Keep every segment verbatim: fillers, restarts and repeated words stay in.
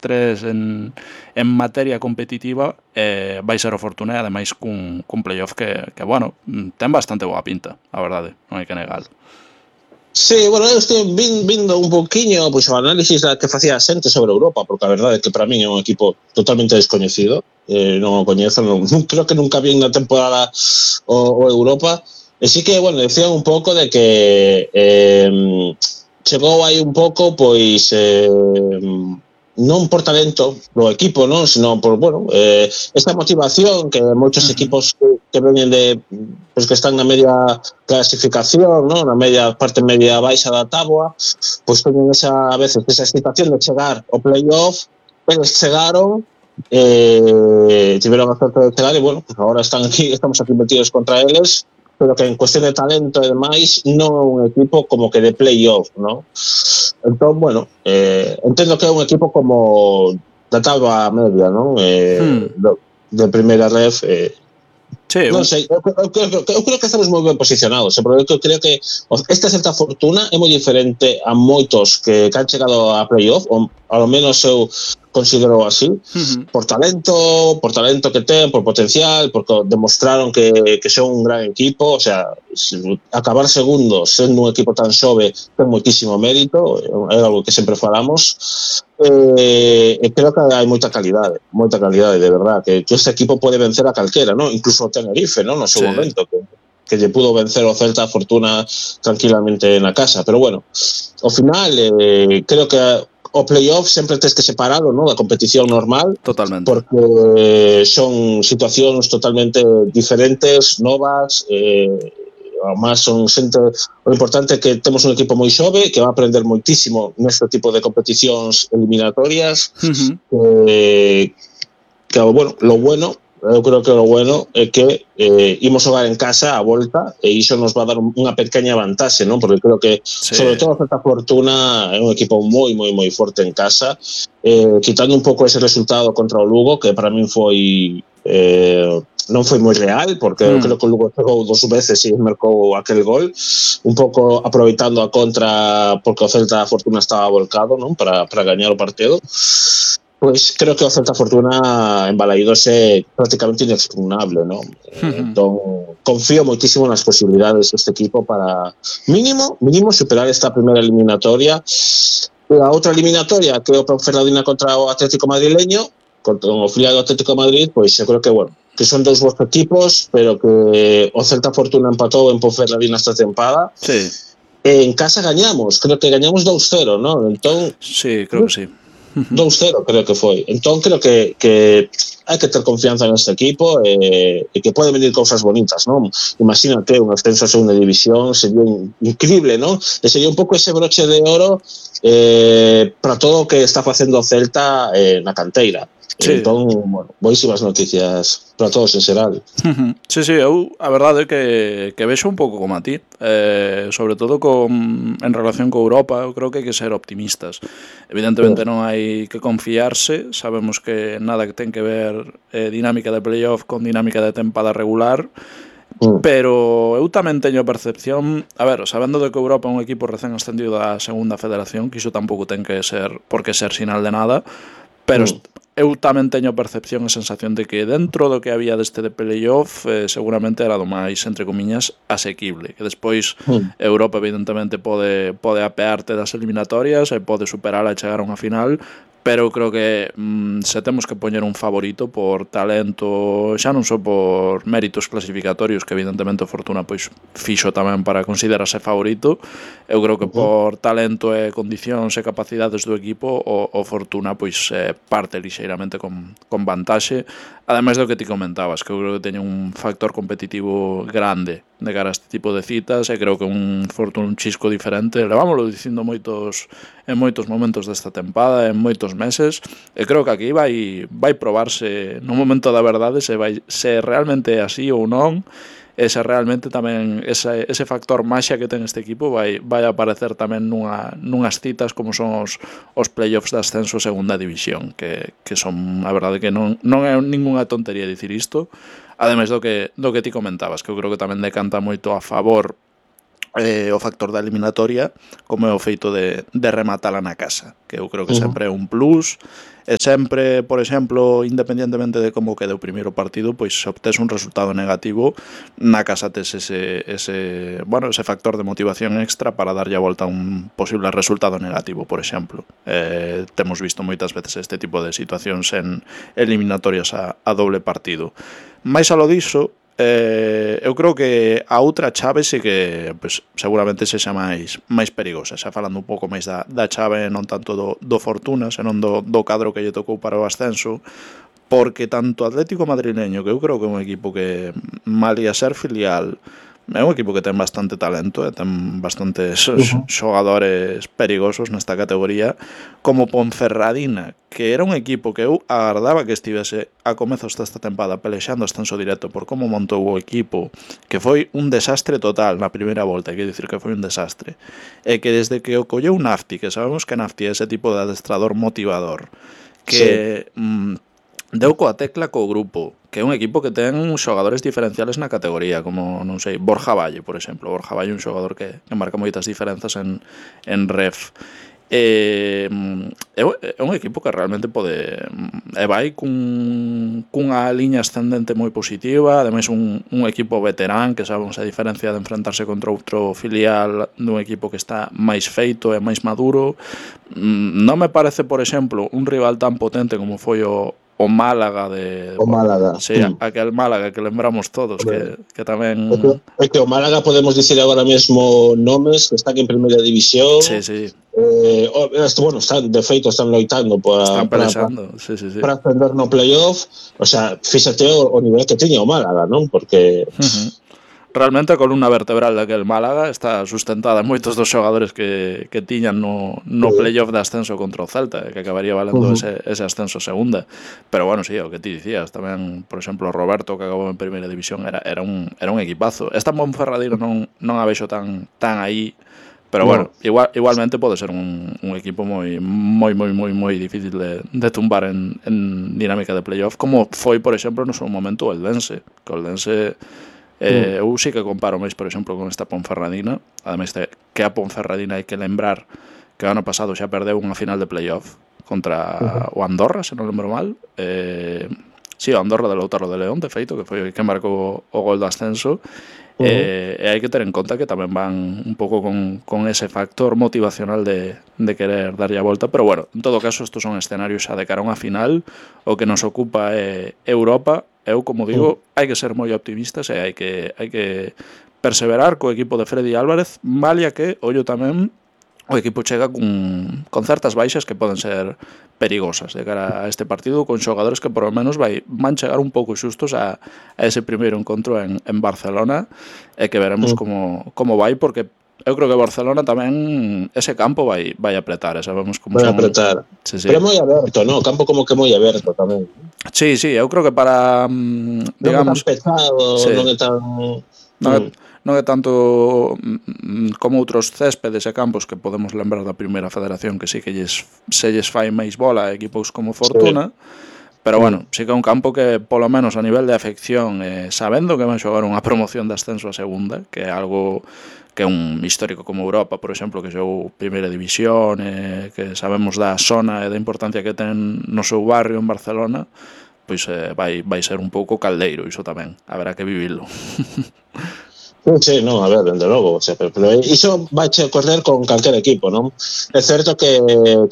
tres en, en materia competitiva, eh, vai ser o Fortuna, e ademais cun, cun playoff que, que, bueno, ten bastante boa pinta, a verdade, non hai que negalo. Sí, bueno, eu estou vindo un poquinho pois, o análisis que facía a xente sobre Europa, porque a verdade é que para mí é un equipo totalmente descoñecido, eh, non o coñezo, non, creo que nunca vi na temporada o, o Europa, e sí que, bueno, decían un pouco de que eh, chegou aí un pouco, pois, eh, non por talento do equipo, non, sino por, bueno, eh, esta motivación que moitos uh-huh. equipos que, que venen de, pois que están na media clasificación, non, na media parte media baixa da táboa, pois teñen esa, a veces, esa excitación de chegar ao playoff, eles chegaron, eh, tiveron a sorte de chegar e, bueno, pues agora están aquí, estamos aquí metidos contra eles, pero que en cuestión de talento e demais non é un equipo como que de playoff, non? Entón, bueno, eh, entendo que é un equipo como da táboa media, non? Eh, hmm. do, de primeira ref, eh, sí, non sei, eu, eu, eu, eu creo que estamos moi ben posicionados, porque eu creo que esta Celta Fortuna é moi diferente a moitos que, que han chegado a playoff, ou ao menos eu considero así, uh-huh. por talento, por talento que ten, por potencial, porque demostraron que, que son un gran equipo, o sea, acabar segundos sendo un equipo tan xove ten moitísimo mérito, é algo que sempre falamos, e eh, creo que hai moita calidade, moita calidade, de verdad, que, que este equipo pode vencer a calquera, ¿no? Incluso o Tenerife, ¿no? No seu sí. momento, que, que lle pudo vencer o Celta Fortuna tranquilamente na casa, pero bueno, ao final, eh, creo que o playoff sempre tens que separalo, ¿no? Da competición normal. Totalmente. Porque son situacións totalmente diferentes, novas, eh, además son xente, o importante é que temos un equipo moi xove que va a aprender moitísimo neste tipo de competicións eliminatorias, uh-huh. que, que, bueno, lo bueno eu creo que o bueno é que eh, imos xogar en casa a volta e iso nos va a dar unha pequena vantaxe, non? Porque creo que, sí. sobre todo a Celta Fortuna é un equipo moi, moi, moi forte en casa, eh, quitando un pouco ese resultado contra o Lugo, que para min foi eh, non foi moi real, porque mm. creo que o Lugo chegou dos veces e marcou aquel gol, un pouco aproveitando a contra porque o Celta Fortuna estaba volcado, non? Para, para gañar o partido. Pois creo que o Celta Fortuna en Balaídos é prácticamente inexpugnable, ¿no? Uh-huh. Entón, confío moitísimo nas posibilidades deste equipo para mínimo, mínimo superar esta primeira eliminatoria. E a outra eliminatoria que é o Ponferradina contra o Atlético Madrileño, contra o filial do Atlético de Madrid, pois eu creo que, bueno, que son dous bons equipos, pero que o Celta Fortuna empatou en Ponferradina esta tempada. Sí. E en casa gañamos, creo que gañamos dos cero, ¿no? Entón, sí, creo que sí. dos cero creo que foi. Entón creo que, que hai que ter confianza neste equipo e, e que pode venir cousas bonitas, non? Imagínate un ascenso a segunda división, sería increíble, non? E sería un pouco ese broche de oro eh, para todo o que está facendo o Celta eh, na canteira. Sí. Entón, bueno, boísimas noticias para todos en xeral. Sí, sí, eu a verdade é que, que vexo un pouco como a ti, eh, sobre todo con, en relación con Europa. Eu creo que hai que ser optimistas. Evidentemente sí. Non hai que confiarse, sabemos que nada que ten que ver eh, dinámica de playoff con dinámica de tempada regular, mm. pero eu tamén teño a percepción, a ver, sabendo de que Europa é un equipo recén ascendido da segunda federación, que iso tampouco ten que ser, por que ser sinal de nada, pero mm. eu tamén teño a percepción e sensación de que dentro do que había deste de playoff eh, seguramente era do máis, entre comiñas, asequible, que despois mm. Europa evidentemente pode, pode apearte das eliminatorias e pode superar e chegar a unha final, pero eu creo que mm, se temos que poñer un favorito por talento, xa non só por méritos clasificatorios, que evidentemente o Fortuna pois fixo tamén para considerarse favorito, eu creo que por talento e condicións e capacidades do equipo o, o Fortuna pois eh, parte lixeiramente con, con vantaxe, ademais do que ti comentabas, que eu creo que teña un factor competitivo grande de cara a este tipo de citas, e creo que un Fortuna un chisco diferente, levámoslo dicindo moitos en moitos momentos desta tempada, en moitos meses, e creo que aquí vai vai probarse no momento da verdade se vai se realmente é así ou non, e se realmente tamén ese, ese factor maxia que ten este equipo vai, vai aparecer tamén nunha, nunhas citas como son os, os playoffs de ascenso segunda división, que, que son, a verdade que non, non é ningunha tontería dicir isto, ademais do que, do que ti comentabas, que eu creo que tamén decanta moito a favor eh, o factor da eliminatoria como é o feito de, de rematala na casa, que eu creo que uh-huh. sempre é un plus, e sempre, por exemplo, independientemente de como quede o primeiro partido, pois se obtes un resultado negativo, na casa tes ese, ese, bueno, ese factor de motivación extra para darlle a volta a un posible resultado negativo, por exemplo. Eh, temos visto moitas veces este tipo de situacións en eliminatorias a, a doble partido. Mais alo diso, Eh, eu creo que a outra chave sí que pues, seguramente sexa máis máis perigosa, xa falando un pouco máis da, da chave non tanto do, do Fortuna, senón do, do cadro que lle tocou para o ascenso, porque tanto Atlético Madrileño, que eu creo que é un equipo que malia ser filial é un equipo que ten bastante talento e ten bastantes uh-huh. xogadores perigosos nesta categoría, como Ponferradina, que era un equipo que eu agardaba que estivese a comezos desta tempada pelexando ascenso directo por como montou o equipo, que foi un desastre total na primeira volta, quero dicir que foi un desastre, e que desde que o colleu Nafti, que sabemos que Nafti é ese tipo de adestrador motivador, que... Sí. Mmm, deu coa tecla co grupo, que é un equipo que ten xogadores diferenciales na categoría, como, non sei, Borja Valle, por exemplo. Borja Valle é un xogador que, que marca moitas diferenzas en, en ref. Eh, é un equipo que realmente pode e vai cun, cunha liña ascendente moi positiva, ademais un, un equipo veterán que sabemos a diferencia de enfrentarse contra outro filial dun equipo que está máis feito e máis maduro. Non me parece, por exemplo, un rival tan potente como foi o o Málaga de... O Málaga. Sí, mm. aquel Málaga que lembramos todos, que, que tamén... É que, é que o Málaga podemos dicir agora mesmo nomes que están en primeira división. Sí, sí. Eh, bueno, están, de feito, están loitando para... Están pelexando, sí, sí, sí. Para ascender no playoff. O sea, fíxate o, o nivel que tiña o Málaga, non? Porque... Uh-huh. Realmente a columna vertebral daquel Málaga está sustentada en moitos dos xogadores que, que tiñan no, no playoff de ascenso contra o Celta, que acabaría valendo uh-huh. ese, ese ascenso segunda. Pero bueno, sí, o que ti dicías, tamén, por exemplo, Roberto, que acabou en primeira división, era, era, un, era un equipazo. Esta Ponferradina non, non a vexo tan, tan aí, pero no. bueno, igual, igualmente pode ser un, un equipo moi moi moi moi moi difícil de, de tumbar en, en dinámica de playoff, como foi, por exemplo, no seu momento o Eldense, que o Eldense... Eh, eu sí que comparo máis, por exemplo, con esta Ponferradina, ademais de que a Ponferradina hai que lembrar que o ano pasado xa perdeu unha final de playoff contra uh-huh. o Andorra, se non lembro mal. Eh, sí, o Andorra de Lautaro de León, de feito, que foi que marcou o gol do ascenso. Uh-huh. Eh, e hai que ter en conta que tamén van un pouco con, con ese factor motivacional de, de querer darlle a volta, pero bueno, en todo caso estos son escenarios xa de cara a unha final. O que nos ocupa é Europa. Eu, como digo, hai que ser moi optimistas e hai que, hai que perseverar co equipo de Freddy Álvarez, malia que, ollo tamén, o equipo chega con, con certas baixas que poden ser perigosas de cara a este partido, con xogadores que por lo menos vai, van chegar un pouco xustos a, a ese primeiro encontro en, en Barcelona, e que veremos como, como vai, porque eu creo que Barcelona tamén ese campo vai vai apretar, sabemos como vai son... apretar. Sí, sí. Pero é moi aberto, no, o campo como que moi aberto tamén. Sí, sí, eu creo que para digamos, non é tan pesado, sí. non é tan non é, non é tanto como outros céspedes e campos que podemos lembrar da primeira federación, que sí que lles, se lles fai máis bola a equipos como Fortuna. Sí. Pero bueno, sí que é un campo que, polo menos a nivel de afección, eh, sabendo que van xogar unha promoción de ascenso a segunda, que é algo que é un histórico como Europa, por exemplo, que xogou primeira división, eh, que sabemos da zona e da importancia que ten no seu barrio en Barcelona, pois eh, vai, vai ser un pouco caldeiro, iso tamén, haberá que vivilo. Sí, no, a ver, dende logo, o sea, pero, pero iso vai che correr con calquer equipo, non? É certo que,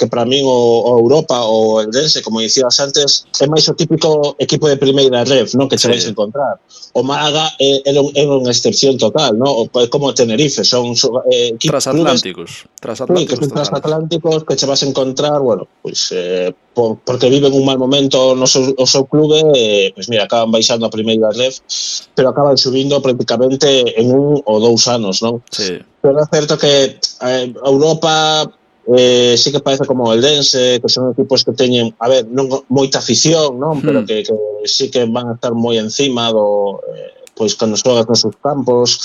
que para min o, o Europa ou o Eldense, como dicías antes, é máis o típico equipo de primeira ref, non? Que che sí. vais encontrar. O Málaga é, é, é unha excepción total, non? Como o Tenerife, son eh, equipos transatlánticos, transatlánticos, sí, que son transatlánticos que che vas a encontrar, bueno, pois pues, eh, por, porque viven un mal momento no seu, o seu clube, eh, pois pues mira, acaban baixando a primeira ref, pero acaban subindo prácticamente en un ou dous anos, non? Sí. Pero é certo que eh, Europa eh, sí que parece como o Eldense, que son equipos que teñen, a ver, non moita afición, non? Pero mm. que, que sí que van a estar moi encima do, eh, pois cando xogas nos seus campos.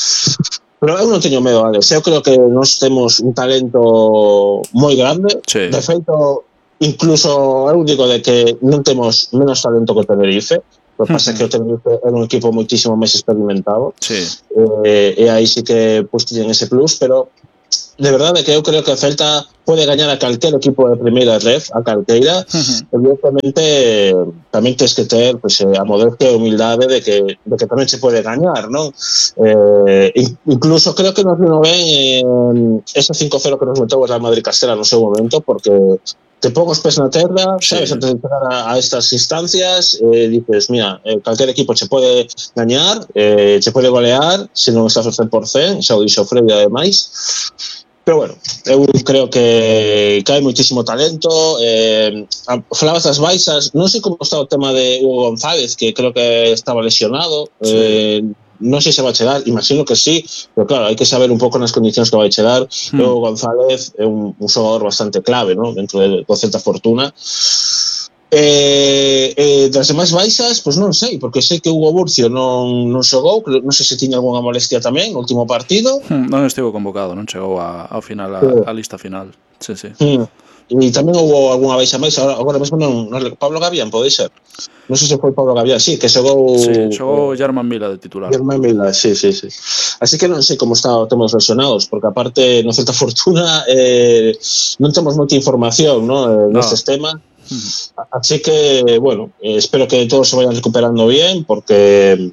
Pero eu non teño medo, Alex. Eu creo que nós temos un talento moi grande. Sí. De feito, incluso eu digo de que non temos menos talento que Tenerife. O que pasa é que o Tenerife era un equipo moitísimo máis experimentado. Sí. Eh, e aí sí que pues, tiñen ese plus, pero de verdade que eu creo que o Celta pode gañar a calquer equipo de primeira ref, a calqueira. Uh-huh. Evidentemente, tamén tens que ter pues, a modestia e humildade de que, de que tamén se pode gañar, non? Eh, incluso creo que nos vino ben eh, ese cinco cero que nos meteu o Real Madrid Castela no seu momento, porque te pongo os pés na terra, sabes, sí. Antes de chegar a, a estas instancias, eh, dices, mira, eh, calquer equipo se pode gañar, eh, se pode golear, se non estás ao cen por cen, xa o dixo Freddy, ademais. Pero bueno, eu creo que, que hai moitísimo talento. Eh, falabas das baixas, non sei como está o tema de Hugo González, que creo que estaba lesionado. Sí. Eh, non sei se vai chegar, imagino que sí, pero claro, hai que saber un pouco nas condicións que vai chegar. Hmm. Hugo González é un, un xogador bastante clave, ¿no? Dentro de, do Celta Fortuna. Eh, eh, das demais baixas, pois non sei, porque sei que Hugo Burcio non, non xogou, non sei se tiña algunha molestia tamén no último partido. Hmm, non estivo convocado, non chegou a, ao final, a, sí. a lista final. Sí, sí. Hmm. E tamén houve algunha baixa máis, agora, agora mesmo non, non, Pablo Gavián, pode ser? Non sei se foi Pablo Gavián, sí, que xogou... Sí, xogou Germán Mila de titular. Germán Mila, sí, sí, sí. Así que non sei como está o tema dos lesionados, porque aparte no Celta Fortuna eh, non temos moita información, ¿no? Eh, nestes no. temas. Así que, bueno, eh, espero que todos se vayan recuperando bien, porque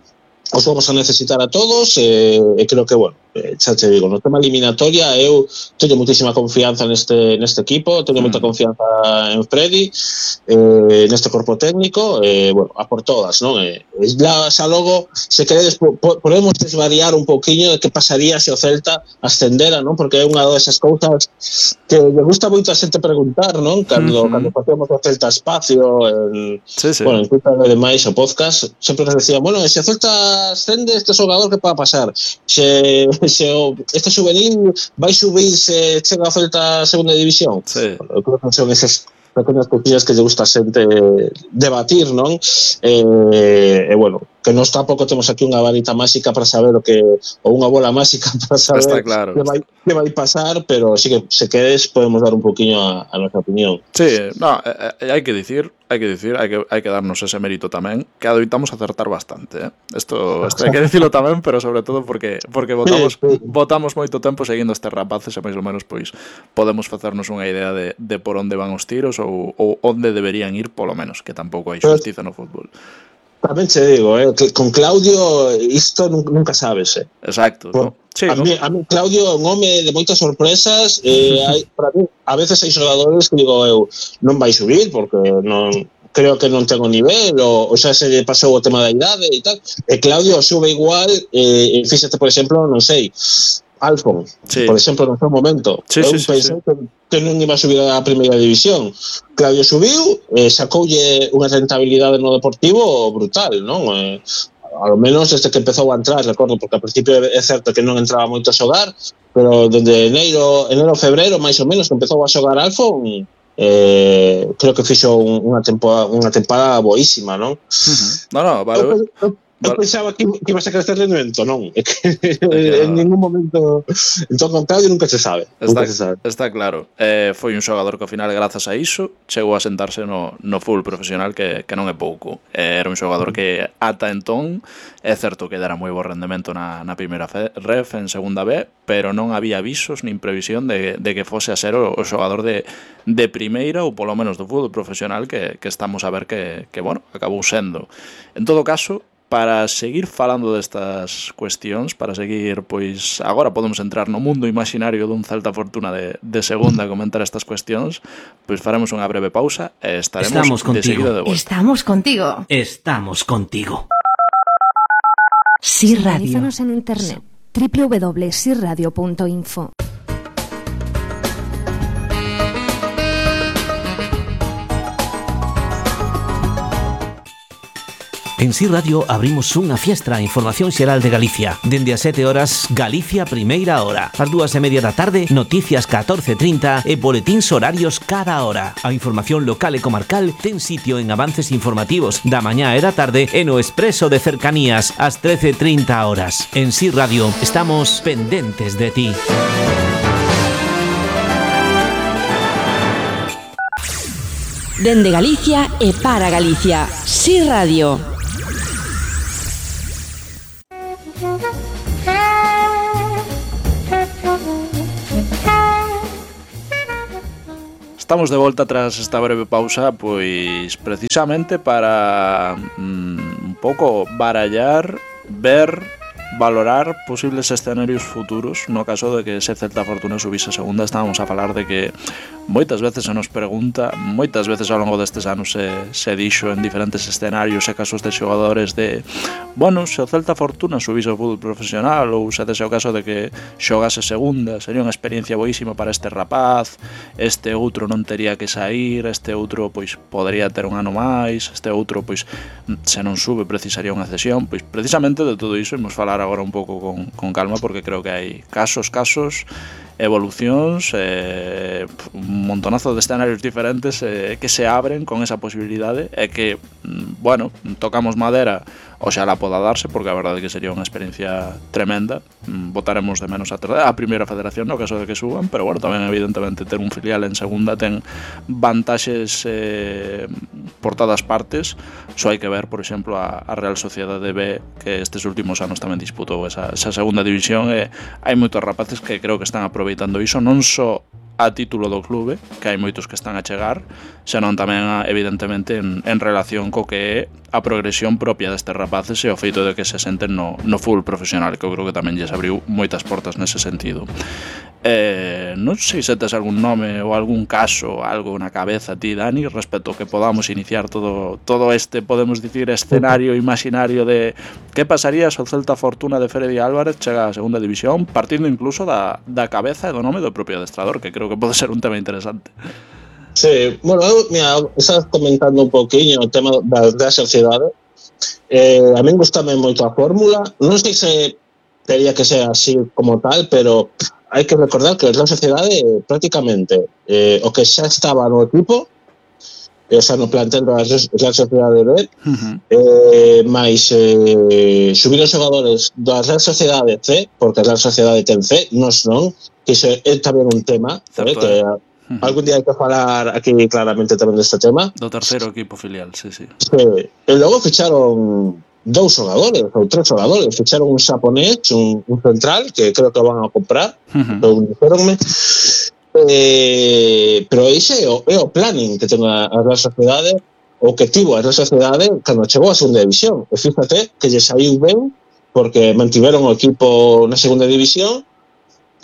os vamos a necesitar a todos e eh, creo que, bueno, eh, xa te digo, no tema eliminatoria eu teño moitísima confianza neste, neste equipo, teño moita confianza en Freddy, eh, neste corpo técnico, eh, bueno, a por todas, non? Eh, la, xa logo, se queredes, po, podemos desvariar un pouquiño de que pasaría se o Celta ascendera, non? Porque é unha desas cousas que me gusta moito a xente preguntar, non? Cando, uh-huh. cando facemos o Celta Espacio, en, sí, sí. bueno, en Twitter e demais o podcast, sempre nos decían, bueno, se o Celta ascende este xogador, que pode pasar? Se, se o, este juvenil vai subir se chega a Celta a segunda división? Sí. Bueno, eu creo que son esas pequenas cosillas que lle gusta a xente debatir, non? E, eh, eh, bueno, que nós tampouco temos aquí unha varita máxica para saber o que, ou unha bola máxica para saber está claro. que, vai, que vai pasar, pero sí que se quedes podemos dar un poquinho a, a nosa opinión. Sí, no, eh, hai que dicir, hai que dicir, hai que, hai que darnos ese mérito tamén, que adoitamos acertar bastante, eh? Esto, esto hai que dicilo tamén, pero sobre todo porque porque votamos, sí, sí. votamos moito tempo seguindo estes rapaces e máis ou menos pois podemos facernos unha idea de, de por onde van os tiros ou, ou onde deberían ir, polo menos, que tampouco hai xustiza no fútbol. Tamén te digo, eh, con Claudio isto nunca sabes, eh. Exacto, Por, ¿no? Sí, a, ¿no? mí, a mí Claudio é un home de moitas sorpresas, eh, hai, para mí, a veces hai xogadores que digo eu, non vai subir porque non creo que non ten o nivel ou, ou xa se lle pasou o tema da idade e tal, e Claudio sube igual, eh, e fíxate, por exemplo, non sei, Alfon, sí. por exemplo, no seu momento. Sí, eu sí, pensei sí, sí. que, que non iba a subir a primeira división. Claudio subiu, eh, sacoulle unha rentabilidade no Deportivo brutal, non? Eh, ao menos desde que empezou a entrar, recordo, porque ao principio é certo que non entraba moito a xogar, pero dende enero, enero, febreiro, máis ou menos, que empezou a xogar Alfon, eh, creo que fixo un, unha temporada, unha temporada boísima, non? Uh-huh. No, no, vale. Eu, eu, Eu pensaba que, que iba a sacar este rendimento, non? É que en ningún momento... Entón, con Claudio nunca se sabe. Está, nunca se sabe. Está claro. Eh, foi un xogador que ao final, grazas a iso, chegou a sentarse no, no full profesional, que, que non é pouco. Eh, era un xogador que ata entón, é certo que dera moi bo rendemento na, na primeira ref, en segunda B, pero non había avisos nin previsión de, de que fose a ser o, o xogador de, de primeira, ou polo menos do fútbol profesional, que, que estamos a ver que, que, bueno, acabou sendo. En todo caso, para seguir falando destas cuestións, para seguir, pois, agora podemos entrar no mundo imaginario dun Celta Fortuna de, de segunda a comentar estas cuestións, pois faremos unha breve pausa e estaremos de seguida de volta. Estamos contigo. Estamos contigo. Sí Radio. Sintonízanos en internet. doble u doble u doble u punto si radio punto info. En Si Radio abrimos unha fiestra a información xeral de Galicia. Dende as sete horas, Galicia Primeira Hora. Ás dúas e media da tarde, noticias catorce trinta e boletíns horarios cada hora. A información local e comarcal ten sitio en avances informativos da mañá e da tarde e no expreso de cercanías ás trece trinta horas. En Si Radio estamos pendentes de ti. Dende Galicia e para Galicia. Si Radio. estamos de volta tras esta breve pausa, pois precisamente para mm, un pouco barallar, ver, valorar posibles escenarios futuros no caso de que se Celta Fortuna subise a segunda. Estábamos a falar de que moitas veces se nos pregunta, moitas veces ao longo destes anos se, se dixo en diferentes escenarios e casos de xogadores de, bueno, se o Celta Fortuna subise ao fútbol profesional ou se dese o caso de que xogase segunda, sería unha experiencia boísima para este rapaz, este outro non tería que sair, este outro pois podería ter un ano máis, este outro pois se non sube precisaría unha cesión. Pois precisamente de todo iso imos falar agora un pouco con, con calma, porque creo que hai casos, casos, evolucións, eh, un montonazo de escenarios diferentes eh, que se abren con esa posibilidade e que, bueno, tocamos madera, oxalá poda darse, porque a verdade é que sería unha experiencia tremenda. Votaremos de menos a, a primeira federación no caso de que suban, pero bueno, tamén evidentemente ter un filial en segunda ten vantaxes eh, por todas partes. Só hai que ver, por exemplo, a, a Real Sociedade B, que estes últimos anos tamén disputou esa, esa segunda división, e hai moitos rapaces que creo que están aproveitando iso, non só a título do clube, que hai moitos que están a chegar, senón tamén evidentemente en, en relación co que é a progresión propia destes rapaces e o feito de que se senten no, no fútbol profesional, que eu creo que tamén lles abriu moitas portas nese sentido. Eh, non sei se tes algún nome ou algún caso, algo na cabeza ti, Dani, respecto que podamos iniciar todo, todo este, podemos dicir, escenario imaginario de que pasaría se o Celta Fortuna de Freddy Álvarez chega a segunda división, partindo incluso da, da cabeza e do nome do propio adestrador, que creo que pode ser un tema interesante. Sí, bueno, eu, mira, estás comentando un poquinho o tema da, da sociedade. Eh, a min gustame moito a fórmula, non sei se teria que ser así como tal, pero hai que recordar que a Real Sociedade prácticamente eh, o que xa estaba no equipo, o sea, no plantel da Real Sociedade B, uh-huh. eh, máis eh, subiron xogadores da Real Sociedade C, porque a Real Sociedade ten C, nos non, que iso é tamén un tema, eh, que uh-huh. algún día hai que falar aquí claramente tamén deste tema. Do terceiro equipo filial, sí, sí. Sí. E logo ficharon dous xogadores, ou tres xogadores, ficharon un xaponés, un, un central, que creo que van a comprar, uh-huh. ou dixeronme, eh, pero ese é o, é o planning que ten a, a Real Sociedade, o que tivo a Real Sociedade cando chegou a segunda división, e fíjate que lle saiu ben, porque mantiveron o equipo na segunda división,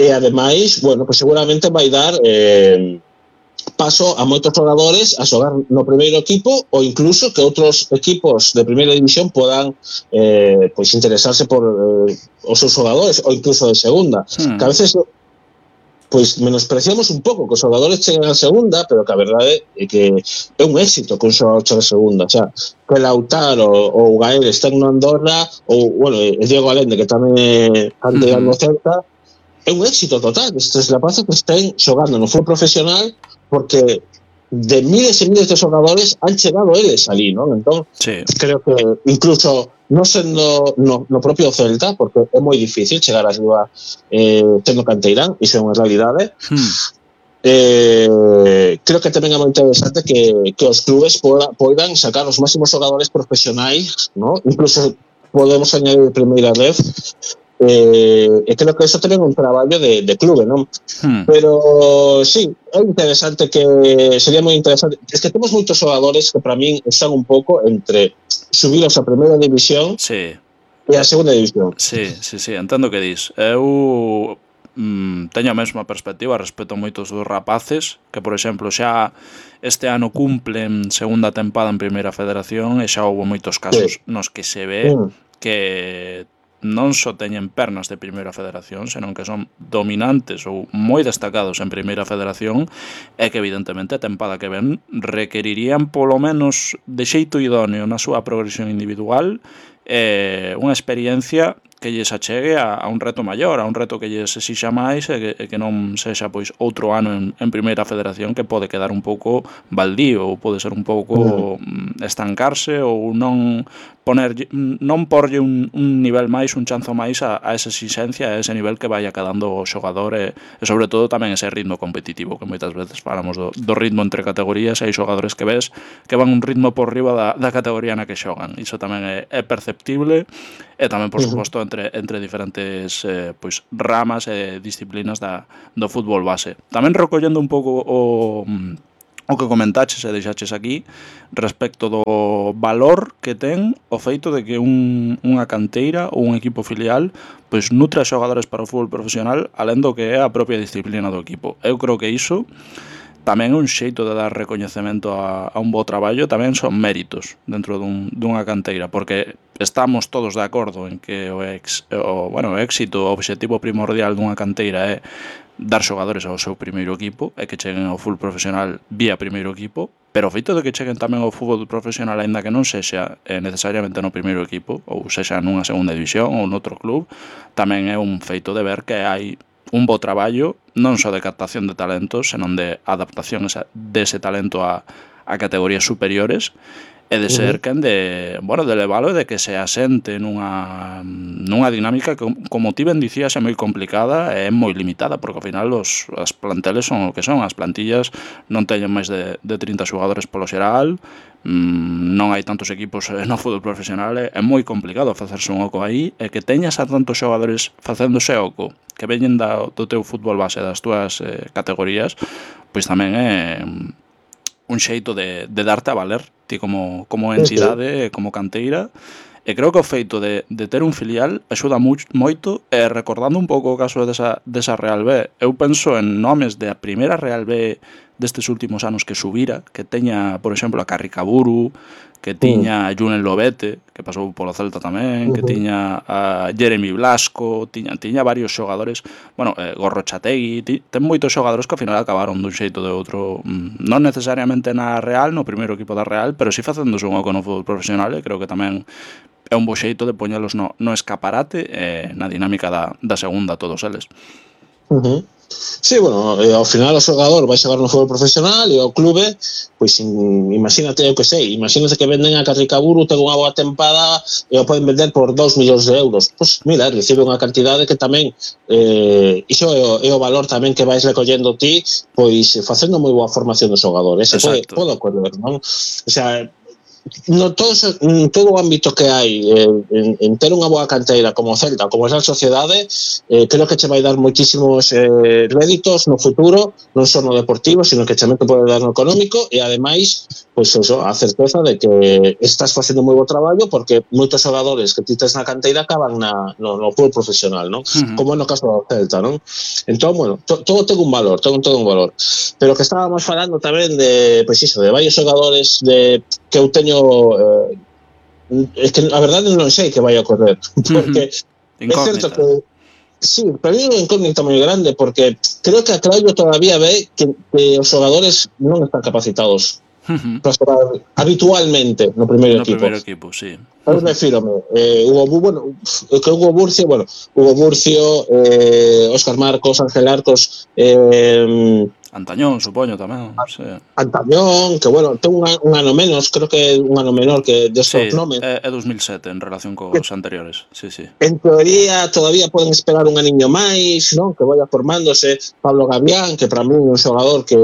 e ademais, bueno, pues seguramente vai dar eh, paso a moitos xogadores a xogar no primeiro equipo, ou incluso que outros equipos de primeira división podan eh, pois interesarse por eh, os seus xogadores, ou incluso de segunda. Hmm. Que a veces pois menospreciamos un pouco que os xogadores cheguen a segunda, pero que a verdade é que é un éxito que un xogador chegue a segunda. O sea, que Lautaro ou Gael estén no Andorra, ou, bueno, Diego Allende, que tamén é candidato no Celta, é un éxito total estes rapaces que estén xogando no fútbol profesional, porque de miles e miles de xogadores han chegado eles ali, non? Entón, sí. Creo que incluso non sendo no, no propio Celta, porque é moi difícil chegar arriba eh, sendo canteirán, iso é unha realidade. Hmm. Eh, creo que tamén é moi interesante que, que os clubes poda, poidan sacar os máximos xogadores profesionais, ¿no? Incluso podemos añadir primeira vez. Eh, e creo que eso tamén é un traballo de, de clube, non? Hmm. Pero sí, é interesante, que sería moi interesante. Es que temos moitos xogadores que para min están un pouco entre subilos a primeira división, sí, e a segunda división. Sí, sí, sí, entendo que dis. Eu mm, teño a mesma perspectiva respecto a moitos dos rapaces que, por exemplo, xa este ano cumplen segunda tempada en primeira federación, e xa houve moitos casos, sí, nos que se ve hmm. que non só teñen pernas de primeira federación, senón que son dominantes ou moi destacados en primeira federación, e que evidentemente a tempada que ven requerirían polo menos de xeito idóneo na súa progresión individual eh, unha experiencia que lles achegue a, a un reto maior, a un reto que lles exixa máis, e que, e que non sexa pois outro ano en, en primeira federación que pode quedar un pouco baldío, ou pode ser un pouco mm. estancarse, ou non poner non porlle un, un nivel máis, un chanzo máis a, a esa exigencia, a ese nivel que vaya quedando o xogador, e, e sobre todo tamén ese ritmo competitivo, que moitas veces falamos do, do ritmo entre categorías, e hai xogadores que ves que van un ritmo por riba da, da categoría na que xogan. Iso tamén é, é perceptible, e tamén, por suposto, entre, entre diferentes eh, pois, ramas e disciplinas da, do fútbol base. Tamén recollendo un pouco o o que comentaches e deixaches aquí respecto do valor que ten o feito de que un, unha canteira ou un equipo filial pois nutre xogadores para o fútbol profesional alén do que é a propia disciplina do equipo. Eu creo que iso tamén é un xeito de dar recoñecemento a, a un bo traballo, tamén son méritos dentro dun, dunha canteira, porque estamos todos de acordo en que o, ex, o, bueno, o éxito, o obxectivo primordial dunha canteira é dar xogadores ao seu primeiro equipo e que cheguen ao fútbol profesional vía primeiro equipo, pero o feito de que cheguen tamén ao fútbol profesional aínda que non sexa eh, necesariamente no primeiro equipo ou sexa nunha segunda división ou noutro club, tamén é un feito de ver que hai un bo traballo non só de captación de talentos, senón de adaptación dese talento a, a categorías superiores e de ser quen de, bueno, de levalo e de que se asente nunha nunha dinámica que, como ti ben dicías, é moi complicada e é moi limitada, porque ao final os, as planteles son o que son, as plantillas non teñen máis de, de trinta xogadores polo xeral, mmm, non hai tantos equipos no fútbol profesional, é moi complicado facerse un oco aí, e que teñas a tantos xogadores facéndose oco que veñen da, do teu fútbol base, das túas eh, categorías, pois tamén é un xeito de, de darte a valer ti como, como entidade, como canteira, e creo que o feito de, de ter un filial axuda moito, e recordando un pouco o caso desa, desa Real B, eu penso en nomes de a primeira Real B destes últimos anos que subira, que teña, por exemplo, a Carricaburu, que tiña a Julen Lobete, que pasou polo Celta tamén, uh-huh. que tiña a Jeremy Blasco, tiña, tiña varios xogadores, bueno, eh, Gorrochategui, ti, ten moitos xogadores que ao final acabaron dun xeito de outro, non necesariamente na Real, no primeiro equipo da Real, pero si facéndose un oco no fútbol profesional, e creo que tamén é un bo xeito de poñelos no, no escaparate e na dinámica da, da segunda todos eles. Uh-huh. Sí, bueno, eh, ao final o xogador vai xogar no fútbol profesional e o clube, pois in, imagínate, eu que sei, imagínate que venden a Carricaburu, ten unha boa tempada e o poden vender por dous millóns de euros. Pois mira, recibe unha cantidade que tamén eh, iso é o, é o valor tamén que vais recollendo ti, pois facendo moi boa formación do xogador. Ese pode, pode ocorrer, non? O sea, no todo, en todo o ámbito que hai eh, en, en ter unha boa canteira como Celta, como esa sociedade, eh, creo que che vai dar moitísimos eh, réditos no futuro, non só no deportivo, sino que tamén te pode dar no económico, e ademais, pois pues eso, a certeza de que estás facendo moi bo traballo, porque moitos xogadores que ti tes na canteira acaban na, no, no fútbol profesional, non? Uh-huh. Como no caso do Celta, non? Entón, bueno, to, todo ten un valor, todo, todo un valor. Pero que estábamos falando tamén de, pois pues iso, de varios xogadores de que eu teño eh, é que a verdade non sei que vai a ocorrer, porque uh-huh. é certo que sí, para mí é unha incógnita moi grande, porque creo que a Claudio todavía ve que, que os xogadores non están capacitados uh-huh. para xogar habitualmente no primeiro no equipo. No primeiro equipo, sí. Eu refírome, eh, Hugo, bueno, que Hugo Burcio, bueno, Hugo Burcio, eh, Óscar Marcos, Ángel Arcos, eh, Antañón, supoño, tamén. Sí. Antañón, que, bueno, ten un, un ano menos, creo que é un ano menor que destos sí, nomes. É, é dos mil sete en relación cos que, anteriores, sí, sí. En teoría, todavía poden esperar un aniño máis, non? Que vaya formándose. Pablo Gavián, que para mí é un xogador que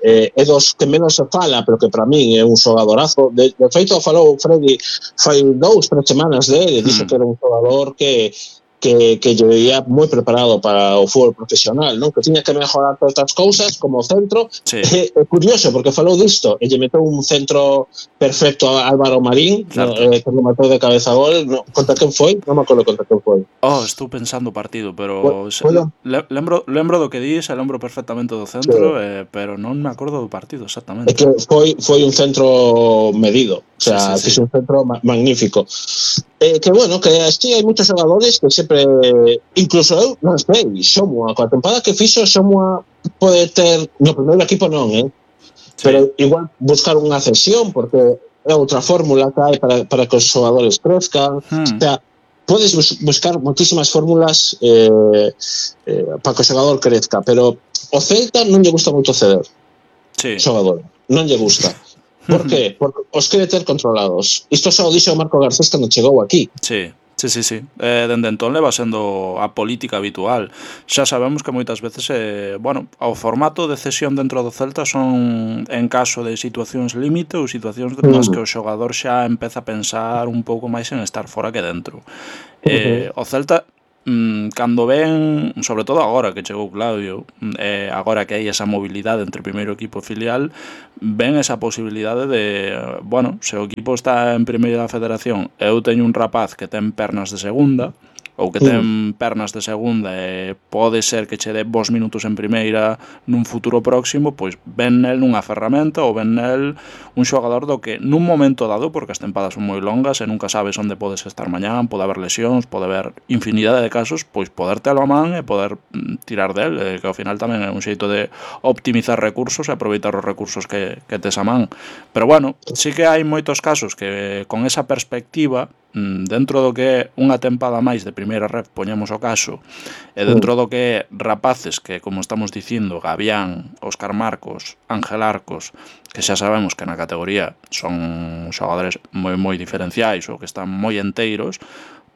eh, é dos que menos se fala, pero que para mí é un xogadorazo. De, de feito, falou Freddy fai dous, tres semanas dele, mm. dixo que era un xogador que que, que yo veía moi preparado para o fútbol profesional, non? Que tiña que mejorar todas estas cousas como centro. Sí. É, é curioso, porque falou disto e lle meteu un centro perfecto a Álvaro Marín, claro. no, eh, que lo matou de cabeza a gol. No, contra quen foi? Non me acordo contra quen foi. Oh, estou pensando o partido, pero bueno, bueno. Le, lembro, lembro do que dis, lembro perfectamente do centro, sí. eh, pero non me acordo do partido exactamente. É que foi, foi un centro medido, o sea, sí, sí, sí. un centro ma magnífico. Eh, que bueno, que así hai moitos xogadores que sempre, incluso eu, non sei, Xomua, coa tempada que fixo, Xomua pode ter, no primeiro equipo non, eh? Sí. Pero igual buscar unha cesión, porque é outra fórmula que hai para, para que os xogadores crezcan, hmm. o sea, podes bus buscar moitísimas fórmulas eh, eh, para que o xogador crezca, pero o Celta non lle gusta moito ceder, sí. xogador, non lle gusta. Por qué? Porque os quere ter controlados. Isto só o dixo Marco Garcés cando chegou aquí. Sí, sí, sí, sí. Eh, dende entón leva sendo a política habitual. Xa sabemos que moitas veces, eh, bueno, o formato de cesión dentro do Celta son en caso de situacións límite ou situacións nas que o xogador xa empeza a pensar un pouco máis en estar fora que dentro. Eh, uh-huh. O Celta mm, cando ven, sobre todo agora que chegou Claudio, eh, agora que hai esa mobilidade entre primeiro equipo e filial, ven esa posibilidade de, bueno, se o equipo está en primeira federación e eu teño un rapaz que ten pernas de segunda, ou que ten pernas de segunda e pode ser que che dé vos minutos en primeira nun futuro próximo, pois ven nel unha ferramenta ou ven nel un xogador do que nun momento dado, porque as tempadas son moi longas e nunca sabes onde podes estar mañán, pode haber lesións, pode haber infinidade de casos, pois poder telo a man e poder tirar del, eh, que ao final tamén é un xeito de optimizar recursos e aproveitar os recursos que, que tes a man. Pero bueno, sí que hai moitos casos que con esa perspectiva, dentro do que é unha tempada máis de primeira ref, poñemos o caso, e dentro do que é rapaces que, como estamos dicindo, Gavián, Óscar Marcos, Ángel Arcos, que xa sabemos que na categoría son xogadores moi moi diferenciais ou que están moi enteiros,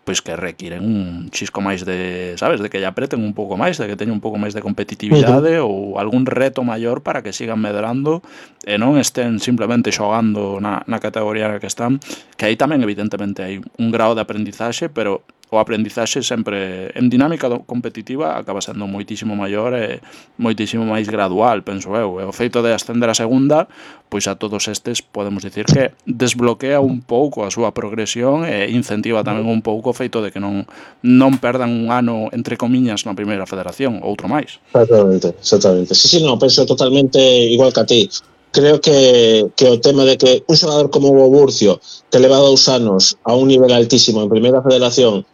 pois que requiren un chisco máis de, sabes, de que lle apreten un pouco máis, de que teñen un pouco máis de competitividade uh-huh. ou algún reto maior para que sigan medrando e non estén simplemente xogando na, na categoría na que están, que aí tamén evidentemente hai un grado de aprendizaxe, pero o aprendizaxe sempre en dinámica competitiva acaba sendo moitísimo maior e moitísimo máis gradual, penso eu. E o feito de ascender a segunda, pois a todos estes podemos dicir que desbloquea un pouco a súa progresión e incentiva tamén un pouco o feito de que non non perdan un ano, entre comiñas, na primeira federación, outro máis. Exactamente, exactamente. Sí, sí, no, penso totalmente igual que a ti. Creo que, que o tema de que un xogador como o Burcio, que leva dous anos a un nivel altísimo en primeira federación,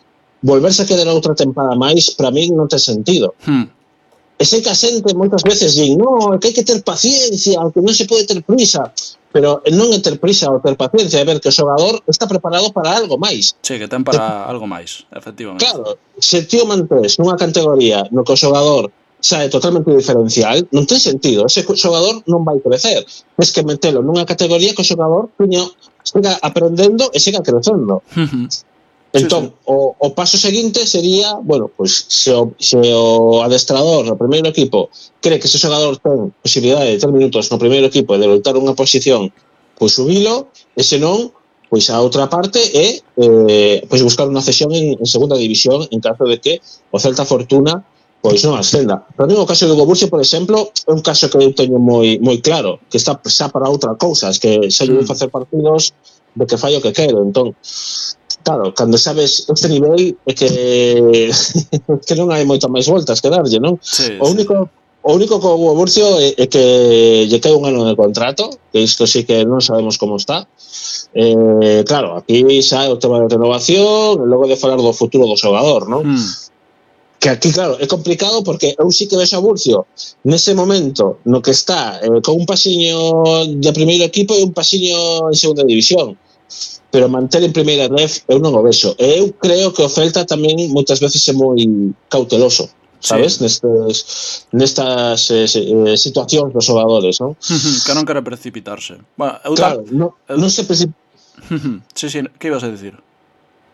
volverse a quedar outra tempada máis, para mí non ten sentido. Hmm. E sei que a xente moitas veces din, no, é que hai que ter paciencia, que non se pode ter prisa, pero non é ter prisa ou ter paciencia, é ver que o xogador está preparado para algo máis. Sí, que ten para te... algo máis, efectivamente. Claro, se tío mantés nunha categoría no que o xogador xa é totalmente diferencial, non ten sentido, ese xogador non vai crecer. Es que metelo nunha categoría que o xogador puño, siga aprendendo e siga crecendo. Entón, sí, sí. O, o paso seguinte sería, bueno, pois pues, se, o, se o adestrador no primeiro equipo cree que ese xogador ten posibilidade de ter minutos no primeiro equipo e de loitar unha posición, pois subilo, e senón, pois a outra parte é eh, pois buscar unha cesión en, en segunda división en caso de que o Celta Fortuna pois non ascenda. Pero no caso de Hugo Burcio, por exemplo, é un caso que eu teño moi moi claro, que está xa para outra cousa, es que xa lle vou facer partidos de que fallo que quero, entón claro, cando sabes este nivel é que que non hai moitas máis voltas que darlle, non? Sí, o único sí. o único co Hugo Burcio é, é que lle cae un ano de contrato, que isto sí que non sabemos como está. Eh, claro, aquí xa é o tema de renovación, e logo de falar do futuro do xogador, non? Hmm. Que aquí, claro, é complicado porque eu sí que vexo a Burcio nese momento no que está eh, con un pasiño de primeiro equipo e un pasiño en segunda división, pero manter en primeira ref eu non o vexo. E eu creo que o Celta tamén moitas veces é moi cauteloso, sabes? Sí. Nestes, nestas eh, situacións dos xogadores, non? Que non quere precipitarse. Bueno, eu claro, non, eu... non se precipita. Sí, sí, que ibas a dicir?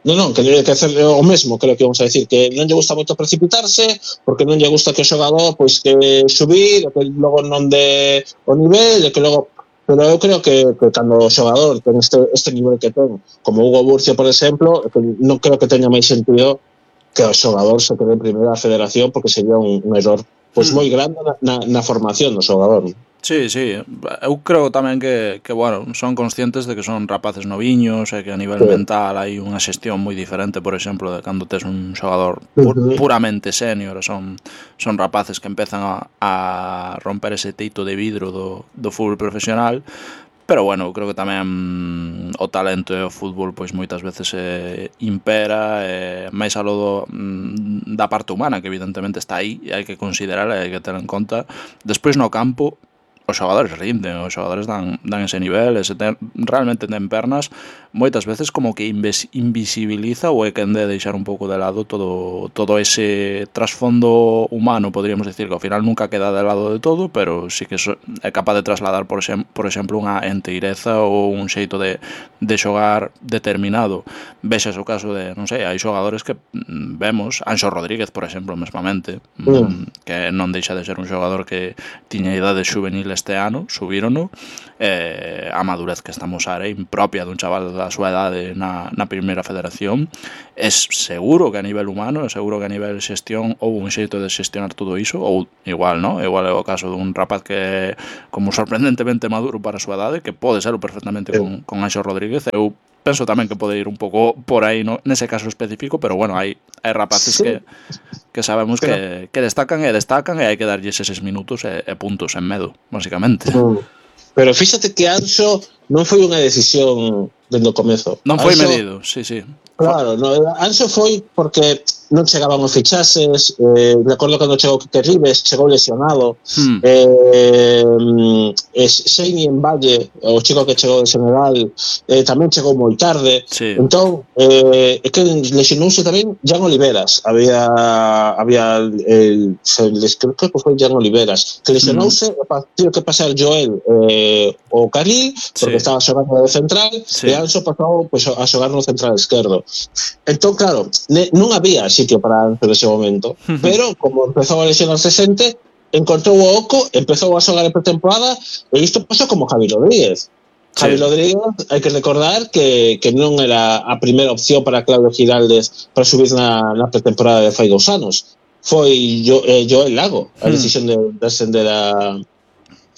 Non, non, que que hacer o mesmo, creo que vamos a decir, que non lle gusta moito precipitarse, porque non lle gusta que o xogador pois que subir, que logo non de o nivel, e que logo... Pero eu creo que, que cando o xogador ten este, este nivel que ten, como Hugo Burcio, por exemplo, que non creo que teña máis sentido que o xogador se quede en primeira federación, porque sería un, un error pois moi grande na, na, na formación do xogador. Sí, sí, eu creo tamén que, que bueno, son conscientes de que son rapaces noviños e que a nivel sí. mental hai unha xestión moi diferente, por exemplo, de cando tes un xogador pu uh-huh. puramente senior, son, son rapaces que empezan a, a romper ese teito de vidro do, do fútbol profesional. Pero bueno, eu creo que tamén o talento e o fútbol pois moitas veces eh, impera, eh, máis alo do, da parte humana, que evidentemente está aí e hai que considerarla e hai que ter en conta. Despois no campo os xogadores rinden, os xogadores dan, dan ese nivel, ese ten, realmente ten pernas, moitas veces como que inves, invisibiliza ou é quen de deixar un pouco de lado todo, todo ese trasfondo humano, podríamos decir, que ao final nunca queda de lado de todo, pero sí que é capaz de trasladar, por, xem, por exemplo, unha enteireza ou un xeito de, de xogar determinado. Vexas o caso de, non sei, hai xogadores que vemos, Anxo Rodríguez, por exemplo, mesmamente, mm. que non deixa de ser un xogador que tiña idades juveniles este ano, subírono, eh, a madurez que está a mostrar é impropia dun chaval da súa edade na, na primeira federación. É seguro que a nivel humano, é seguro que a nivel xestión houve un xeito de xestionar todo iso, ou igual, no? Igual é o caso dun rapaz que é como sorprendentemente maduro para a súa edade, que pode serlo perfectamente con, con Anxo Rodríguez. Eu penso tamén que pode ir un pouco por aí, no, nese caso específico, pero bueno, hai, hai rapaces sí. que, que sabemos pero, que, que destacan e destacan e hai que darlles eses minutos e, e puntos en medo, basicamente. Pero, pero fíxate que Anxo non foi unha decisión dende o comezo. Non foi Anxo, medido, sí, sí. Claro, no, Anxo foi porque non chegaban os fichases, eh, recordo cando chegou Quique Rives, chegou lesionado, hmm. eh, eh, Seini en Valle, o chico que chegou de Senegal, eh, tamén chegou moi tarde, sí. Entón, eh, é que lesionouse tamén Jan Oliveras, había, había el, el, creo que foi Jan Oliveras, que lesionouse, hmm. tivo que pasar Joel eh, o Carril, porque sí. estaba xogando de central, sí. e Anxo pasou pues, a xogar no central esquerdo. Entón, claro, ne, non había sitio para Anxo nese momento, uh-huh. pero como empezou a lesionarse xente, encontrou o oco, empezou a xogar en pretemporada, e isto pasou como Javi Rodríguez. Sí. Javi Rodríguez, hai que recordar que, que non era a primeira opción para Claudio Giraldez para subir na, na pretemporada de fai dous anos. Foi jo, eh, Joel Lago, a decisión de, de ascender a,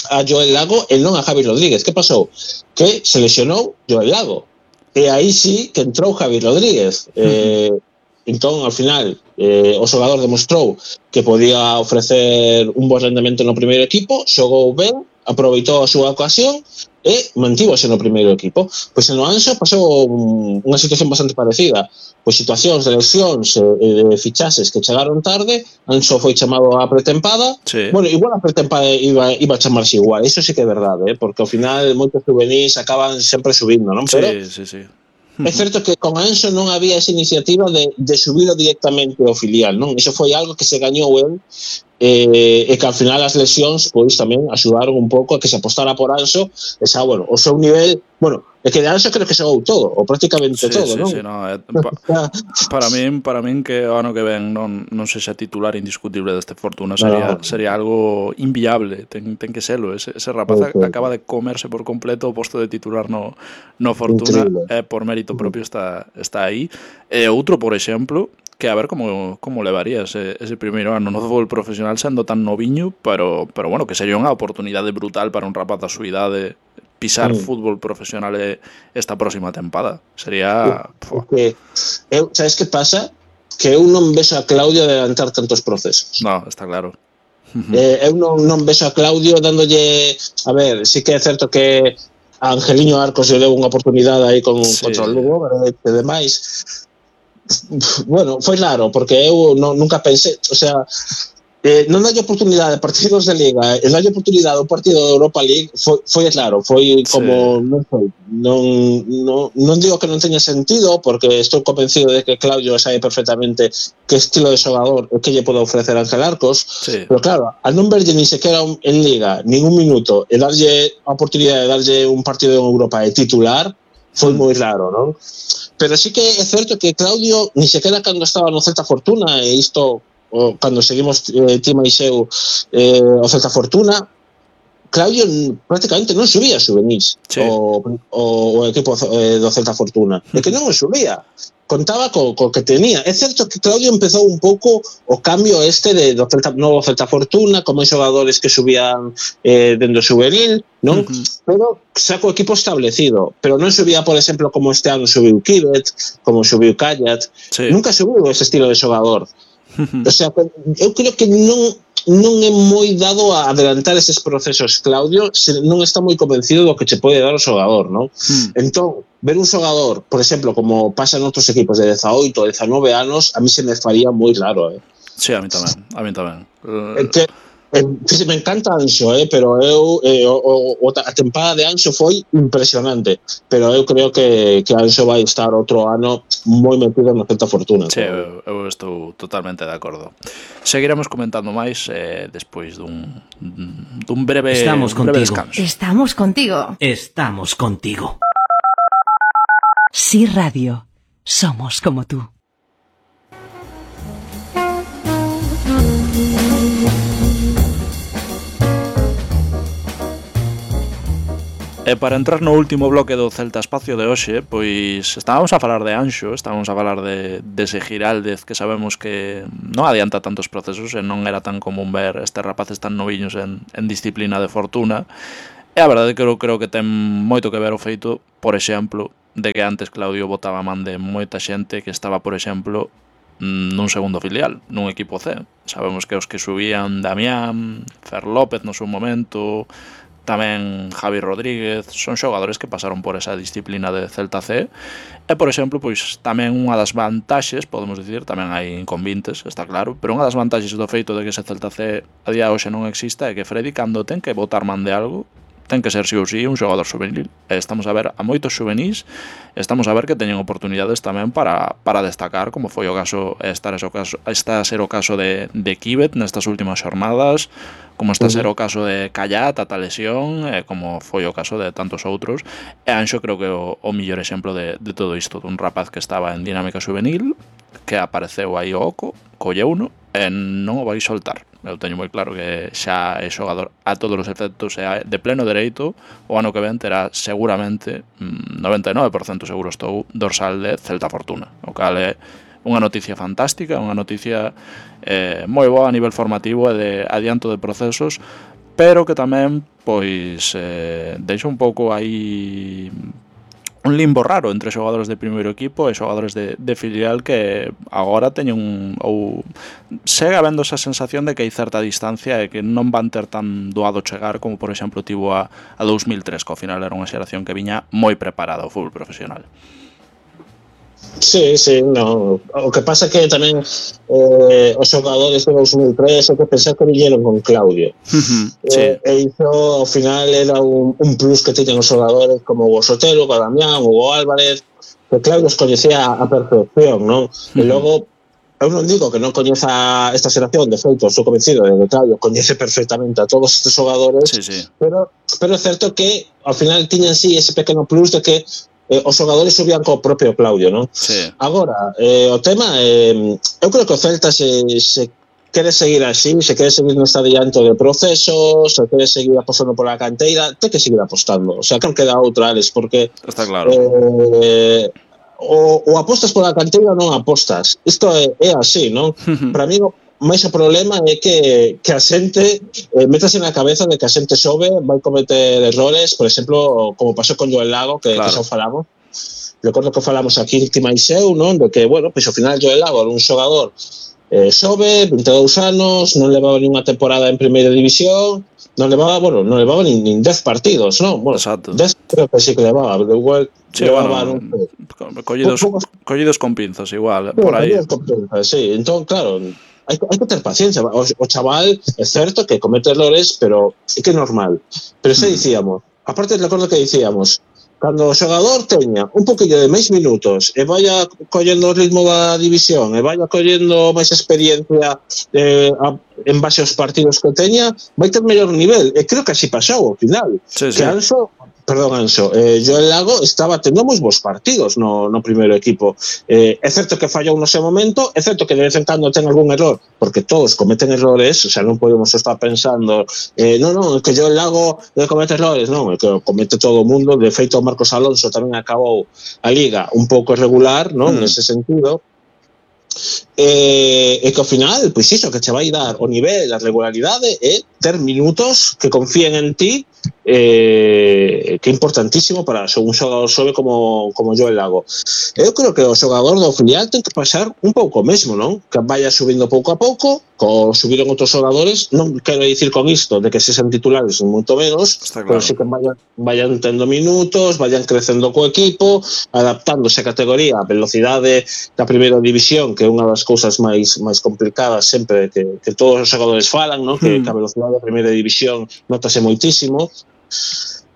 a Joel Lago e non a Javi Rodríguez. Que pasou? Que se lesionou Joel Lago. E aí sí que entrou Javi Rodríguez. Eh, entón, ao final, eh, o xogador demostrou que podía ofrecer un bo rendemento no primeiro equipo, xogou ben, aproveitou a súa ocasión e mantívose no primeiro equipo. Pois en o Anxo pasou unha situación bastante parecida. Pois situacións de lesións e de fichases que chegaron tarde, Anxo foi chamado a pretempada. Sí. Bueno, igual a pretempada iba, iba a chamarse igual, iso sí que é verdade, eh? Porque ao final moitos juvenis acaban sempre subindo, non? Pero sí, sí, sí. É certo que con Anxo non había esa iniciativa de, de subir directamente ao filial, non? Iso foi algo que se gañou el eh, e que al final as lesións pois tamén axudaron un pouco a que se apostara por Anxo e xa, bueno, o seu nivel, bueno, é que de Anxo creo que xogou todo, ou prácticamente sí, todo, sí, non? Sí, no, eh, pa, para min, para min que o ano que ven non, non sexa titular indiscutible deste Fortuna sería, no. sería algo inviable, ten, ten que serlo, ese, ese rapaz sí, sí. acaba de comerse por completo o posto de titular no, no Fortuna, eh, por mérito propio está, está aí. E outro, por exemplo, que a ver como, como levaría ese, ese primeiro ano no fútbol profesional sendo tan noviño, pero, pero bueno, que sería unha oportunidade brutal para un rapaz da súa idade pisar mm. fútbol profesional esta próxima tempada. Sería... Porque, eu, sabes que pasa? Que eu non vexo a Claudio adelantar tantos procesos. No, está claro. eh, eu non, non vexo a Claudio dándolle... A ver, sí que é certo que a Angeliño Arcos lle deu unha oportunidade aí con, sí. contra o Lugo, e demais... Bueno, foi claro, porque eu non, nunca pensei, o sea, eh, non dalle oportunidade a partidos de Liga e dalle oportunidade ao partido de Europa League foi, foi claro, foi como sí. non, foi, non, non, non digo que non teña sentido, porque estou convencido de que Claudio sabe perfectamente que estilo de xogador que lle pode ofrecer Ángel Arcos, sí. pero claro, al non verlle ni sequera en Liga ningún minuto e darlle a oportunidade de darlle un partido en Europa de titular foi moi raro, non? Pero sí que é certo que Claudio, ni sequera cando estaba no Celta Fortuna, e isto, o, cando seguimos eh, Tima e Xeu eh, o Celta Fortuna, Claudio prácticamente non subía juvenis sí. o, o, o equipo eh, do Celta Fortuna. É que non o subía. Contaba co, co que tenía. É certo que Claudio empezou un pouco o cambio este de, do Celta, novo Celta Fortuna, como xogadores que subían eh, dentro do juvenil, non? Uh-huh. Pero xa co equipo establecido. Pero non subía, por exemplo, como este ano subiu Kibet, como subiu Kayat. Sí. Nunca subiu ese estilo de xogador. Uh-huh. O sea, eu creo que non non é moi dado a adelantar eses procesos Claudio, se non está moi convencido do que che pode dar o xogador, non? Hmm. Entón, ver un xogador, por exemplo, como pasa en outros equipos de dezaoito, dezanove anos, a mí se me faría moi raro, eh? Sí, a mí tamén, a mí tamén. Uh... Que, eh, me encanta Anxo, eh, pero eu eh, o, o, a tempada de Anxo foi impresionante, pero eu creo que, que Anxo vai estar outro ano moi metido na Celta Fortuna. Sí, eu, eu estou totalmente de acordo. Seguiremos comentando máis eh, despois dun, dun breve, Estamos un breve contigo. descanso. Estamos contigo. Estamos contigo. Sí, Radio. Somos como tú. E para entrar no último bloque do Celta Espacio de hoxe, pois estábamos a falar de Anxo, estábamos a falar de, de ese Giraldez que sabemos que non adianta tantos procesos e non era tan común ver estes rapaces tan noviños en, en disciplina de fortuna. E a verdade que eu creo que ten moito que ver o feito, por exemplo, de que antes Claudio botaba man de moita xente que estaba, por exemplo, nun segundo filial, nun equipo C. Sabemos que os que subían Damián, Fer López no seu momento, tamén Javi Rodríguez, son xogadores que pasaron por esa disciplina de Celta C. E, por exemplo, pois tamén unha das vantaxes, podemos dicir, tamén hai inconvintes, está claro, pero unha das vantaxes do feito de que ese Celta C a día de hoxe non exista é que Freddy, cando ten que botar man de algo, ten que ser sí ou sí un xogador juvenil. E estamos a ver a moitos juvenis, estamos a ver que teñen oportunidades tamén para, para destacar, como foi o caso, está, o caso, está a ser o caso de, de Kibet nestas últimas xornadas, como está a ser o caso de Callat, ata lesión, e como foi o caso de tantos outros. E Anxo creo que é o, o millor exemplo de, de todo isto, dun rapaz que estaba en dinámica juvenil, que apareceu aí o oco, colleuno, e non o vai soltar. Eu teño moi claro que xa é xogador a todos os efectos, e de pleno dereito o ano que ven terá seguramente noventa e nove por cento seguro estou dorsal de Celta Fortuna, o cal é unha noticia fantástica, unha noticia eh, moi boa a nivel formativo e de adianto de procesos, pero que tamén pois eh, deixa un pouco aí un limbo raro entre xogadores de primeiro equipo e xogadores de, de filial que agora teñen un, ou segue habendo esa sensación de que hai certa distancia e que non van ter tan doado chegar como, por exemplo, tivo a, a dous mil tres, que ao final era unha xeración que viña moi preparada ao fútbol profesional. Sí, sí, no. O que pasa é que tamén eh, os xogadores de dous mil tres é que pensar que viñeron con Claudio. Uh-huh, sí. eh, e iso ao final era un, un plus que teñen os xogadores como o Sotelo, o Damián, o Álvarez, que Claudio os coñecía a perfección, non? Uh-huh. E logo, eu non digo que non coñeza esta xeración, de feito, estou convencido de que Claudio coñece perfectamente a todos estes xogadores, sí, sí. pero pero é certo que ao final tiñan sí ese pequeno plus de que Eh, os xogadores subían co propio Claudio, non? Sí. Agora, eh, o tema eh, eu creo que o Celta se, se quere seguir así, se quere seguir neste adianto de procesos, se quere seguir apostando pola canteira, ten que seguir apostando, o sea, que non queda outra, Alex, porque está claro. Eh, o, o apostas pola canteira ou non apostas, isto é, é así, non? Para mí máis o problema é que, que a xente eh, metase na cabeza de que a xente sobe, vai cometer errores, por exemplo, como pasou con Joel Lago, que, claro. que xa falamos. Recordo que falamos aquí en Timaiseu, non? De que, bueno, pois ao final Joel Lago era un xogador eh, sobe, vinte e dous anos, non levaba ninguna temporada en primeira división, non levaba, bueno, non levaba nin, nin dez partidos, non? Bueno, exacto. dez creo que sí que levaba, pero igual sí, levaba bueno, non, collidos, pocos, collidos con pinzas igual, sí, por aí. Con pinzas, sí, entón, claro, hai, hai que ter paciencia. O, o chaval é certo que comete errores, pero é que é normal. Pero xa dicíamos, aparte recordo que dicíamos, cando o xogador teña un poquillo de máis minutos e vaya collendo o ritmo da división e vaya collendo máis experiencia eh, a, en base aos partidos que teña, vai ter mellor nivel. E creo que así pasou ao final. Sí, que sí. Anxo, perdón, Anxo, eh, Joel Lago estaba tendo moi bons partidos no, no primeiro equipo. Eh, é certo que fallou no seu momento, é certo que de vez en cando ten algún error, porque todos cometen errores, o sea, non podemos estar pensando eh, non, non, que Joel Lago eh, comete errores, non, é que comete todo o mundo. De feito, Marcos Alonso tamén acabou a liga un pouco irregular, non, mm. nese sentido. E, e que ao final, pois iso, que che vai dar o nivel, a regularidade e ter minutos que confíen en ti, eh, que é importantísimo para un xogador sobe como, como Joel Lago. Eu creo que o xogador do filial ten que pasar un pouco mesmo, non? Que vaya subindo pouco a pouco, co subiron outros xogadores, non quero dicir con isto de que se sean titulares moito menos, claro. Pero sí que vayan, vayan tendo minutos, vayan crecendo co equipo, adaptándose a categoría, a velocidade da primeira división, que é unha das cousas máis máis complicadas sempre que, que todos os xogadores falan, non? Que, hmm. que a velocidade da primeira división notase moitísimo.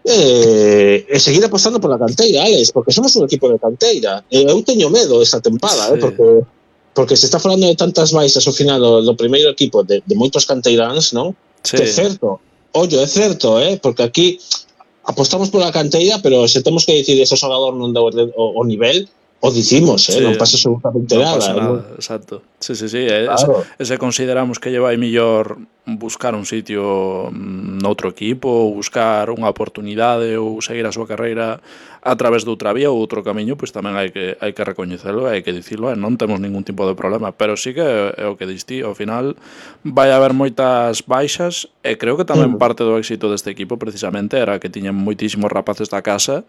E, e seguir apostando pola canteira, Alex, porque somos un equipo de canteira. E eu teño medo esta tempada, sí. eh, porque porque se está falando de tantas baixas ao final do, do primeiro equipo de, de moitos canteiráns, non? Sí. Que é certo, ollo, é certo, eh? Porque aquí apostamos pola canteira, pero se temos que dicir ese xogador non deu o, o nivel, o dicimos, eh, sí, non pasa absolutamente non nada. pasa nada, ¿no? exacto. Sí, sí, sí, e, Claro. ese, ese consideramos que lle vai millor buscar un sitio noutro equipo, ou buscar unha oportunidade ou seguir a súa carreira a través de outra vía ou outro camiño, pois tamén hai que hai que recoñecelo, hai que dicilo, e non temos ningún tipo de problema, pero sí que é o que diste, ao final vai haber moitas baixas, e creo que tamén parte do éxito deste equipo precisamente era que tiñan moitísimos rapaces da casa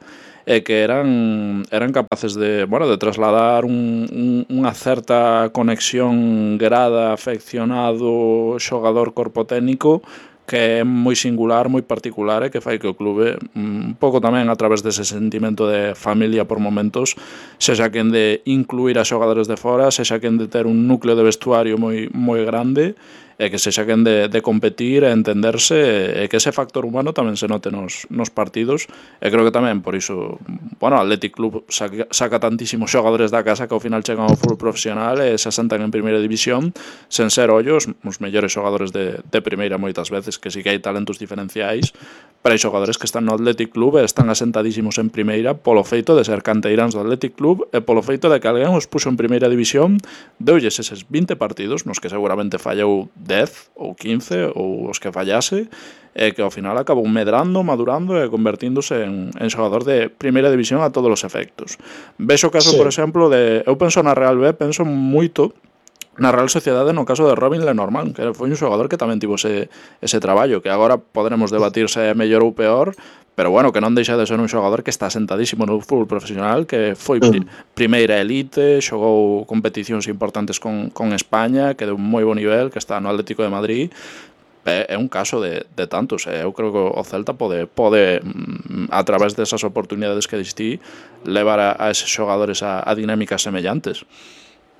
e que eran eran capaces de, bueno, de trasladar un, un, unha certa conexión grada, afeccionado, xogador corpo técnico que é moi singular, moi particular e que fai que o clube un pouco tamén a través dese sentimento de familia por momentos sexa quen de incluir a xogadores de fora, sexa quen de ter un núcleo de vestuario moi moi grande e que sexa quen de, de competir e entenderse e que ese factor humano tamén se note nos, nos partidos e creo que tamén por iso, bueno, Athletic Club saca, saca tantísimos xogadores da casa que ao final chegan ao fútbol profesional e se asentan en primeira división sen ser ollos os mellores xogadores de, de primeira moitas veces, que sí que hai talentos diferenciais, pero hai xogadores que están no Athletic Club e están asentadísimos en primeira polo feito de ser canteiráns do Athletic Club e polo feito de que alguén os puxo en primeira división, deulles eses vinte partidos nos que seguramente fallou dez ou quince ou os que fallase e que ao final acabou medrando, madurando e convertíndose en, en xogador de primeira división a todos os efectos. Vexo o caso, sí. por exemplo, de eu penso na Real B, penso moito na Real Sociedade no caso de Robin Lenormand, que foi un xogador que tamén tivo ese, ese traballo, que agora poderemos debatir se é mellor ou peor, pero bueno, que non deixa de ser un xogador que está sentadísimo no fútbol profesional, que foi pri, primeira elite, xogou competicións importantes con, con España, que deu un moi bo nivel, que está no Atlético de Madrid. É un caso de, de tantos, eh? Eu creo que o Celta pode, pode a través desas oportunidades que distí levar a, a eses xogadores a, a dinámicas semellantes.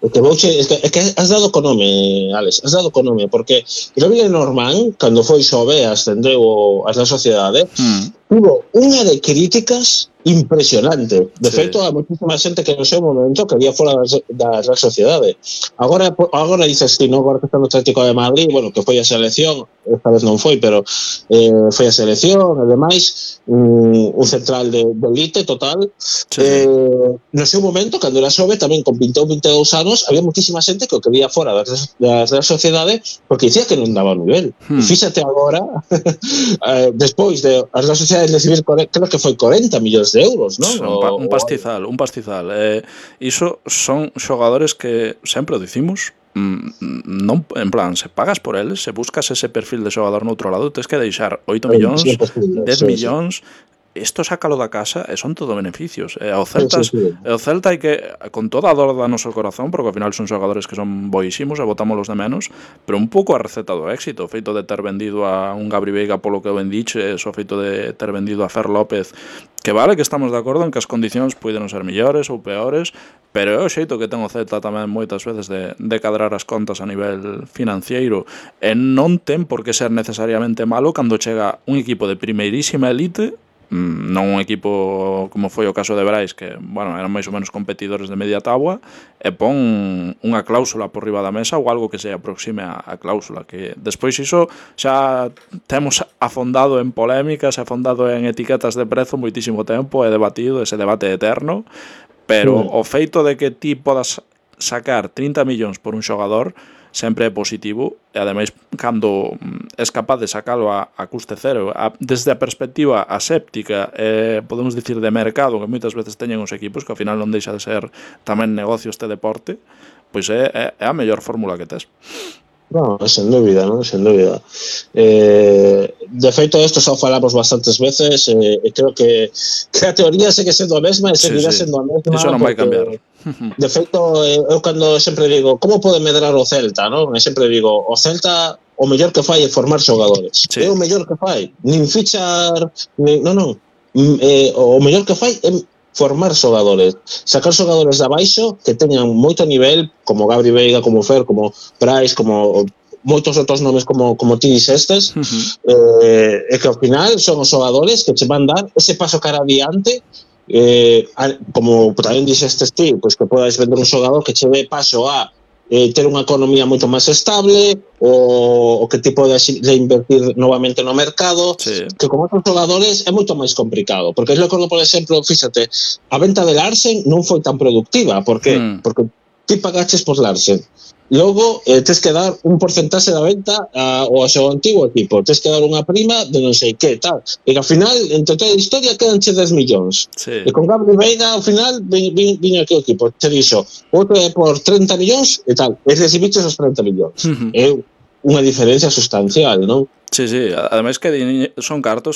O que vouche, é que, é que has dado co nome, Alex, has dado co nome, porque Robin Lenormand, cando foi xove e ascendeu a Real Sociedade, mm. tuvo unha de críticas impresionante. De sí. feito, a moitísima xente que no seu momento quería fora da Real Sociedade. Agora, agora dices que non, agora que está no Atlético de Madrid, bueno, que foi a selección, esta vez non foi, pero eh, foi a selección, ademais, un, un central de, de elite total. Sí. Eh, no seu momento, cando era xove, tamén con vinte ou vinte e dous anos, había moitísima xente que o quería fora da, da Real Sociedade porque dicía que non daba nivel. Hmm. E fíxate agora, eh, despois de a Real Sociedade recibir, creo que foi corenta millóns de euros, non? Un, pa, un pastizal, un pastizal. Eh, iso son xogadores que sempre o dicimos, non, en plan, se pagas por eles, se buscas ese perfil de xogador no outro lado, tens que deixar oito millóns, dez millóns, isto sácalo da casa e son todo beneficios. E o Celta, sí, sí, sí. E o Celta hai que, con toda a dor da noso corazón, porque ao final son xogadores que son boísimos e botámolos de menos, pero un pouco a receta do éxito, o feito de ter vendido a un Gabri Veiga polo que ben diches, o feito de ter vendido a Fer López, que vale que estamos de acordo en que as condicións poden ser mellores ou peores, pero é o xeito que ten o Celta tamén moitas veces de, de cadrar as contas a nivel financiero, e non ten por que ser necesariamente malo cando chega un equipo de primeirísima elite, non un equipo como foi o caso de Brais, que, bueno, eran máis ou menos competidores de media táboa, e pon unha cláusula por riba da mesa ou algo que se aproxime a, a cláusula, que despois iso xa temos afondado en polémicas, afondado en etiquetas de prezo moitísimo tempo, e debatido ese debate eterno, pero sí. o feito de que ti podas sacar trinta millóns por un xogador sempre é positivo, e ademais cando és capaz de sacalo a, a custe cero, a, desde a perspectiva aséptica, eh, podemos dicir de mercado, que moitas veces teñen os equipos, que ao final non deixa de ser tamén negocio este deporte, pois é, é, é a mellor fórmula que tes. No, sen dúbida, non? Sen dúbida. Eh, de feito, isto xa falamos bastantes veces, e eh, creo que, que a teoría segue sendo a mesma e seguirá sí, sí. sendo a mesma. Iso non vai cambiar. De feito, eu cando sempre digo como pode medrar o Celta, non? E sempre digo, o Celta o mellor que fai é formar xogadores. Sí. É o mellor que fai. Nin fichar, nin, non, non. Eh, o mellor que fai é formar xogadores, sacar xogadores de abaixo que teñan moito nivel, como Gabri Veiga, como Fer, como Brais, como moitos outros nomes como, como ti dixestes, uh-huh. eh, e que ao final son os xogadores que che van dar ese paso cara adiante, eh, a, como tamén dixestes ti, pois que podes vender un xogador que che ve paso a eh, ter unha economía moito máis estable, o, o que tipo de, de invertir novamente no mercado, sí. que con outros xogadores é moito máis complicado, porque es lo que, por exemplo, fíxate, a venta de Larsen non foi tan productiva, por que? Hmm. Porque ti pagaches por Larsen, logo eh, tens que dar un porcentaxe da venta a, ao seu antigo equipo, tens que dar unha prima de non sei que, tal, e que ao final, entre toda a historia, quedanche dez millóns. Sí. E con Gabri Veiga, ao final, viño aquí o equipo, te dixo, outro é por treinta millóns e tal, e recibiches os treinta millóns. Uh-huh. É unha diferencia sustancial, non? Sí, sí, ademais que son cartos